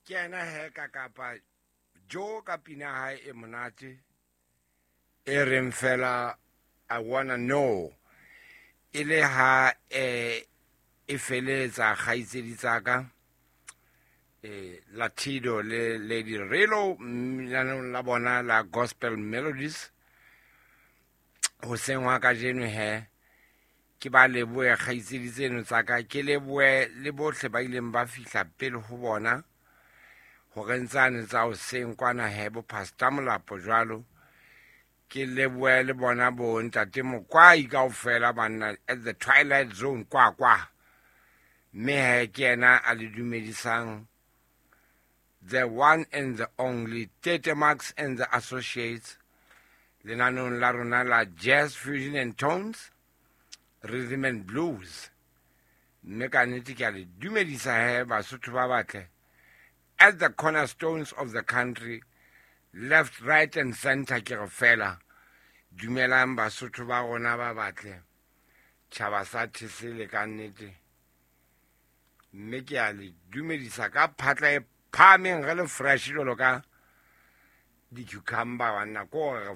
Ke yena he ka kapa Jo ka pina hae e monate e reng fela I wanna know, e le ha e feletsa kgaitsedi tsa ka Latido le Lady Relo lenaneong la bona la Gospel Melodies hoseng wa kajeno. He ke ba lebohe kgaitsedi tseno tsa ka, ke lebohe le bohle ba ileng ba fihla pele ho bona hore ntsane tsa hoseng kwana he bo Pastor Molapo jwalo. Ke lebohe le bona bo ntate Mokwai kaofela banna at the Twilight Zone kwa kwa. Mme he ke yena a le dumedisang, the one and the only Tete Max and the Associates, lenaneong la rona la Jazz Fusion and Tones, Rhythm and Blues. Mme ka nnete ke a le dumedisa he Basotho ba batle at the cornerstones of the country, left, right and center. Ke re fela dumelang Basotho ba rona ba batle, tjhaba sa thesele ka nnete. Mme ke a le dumedisa ka phatla e phahameng, re le fresh jwalo ka di-cucumber banna, ko re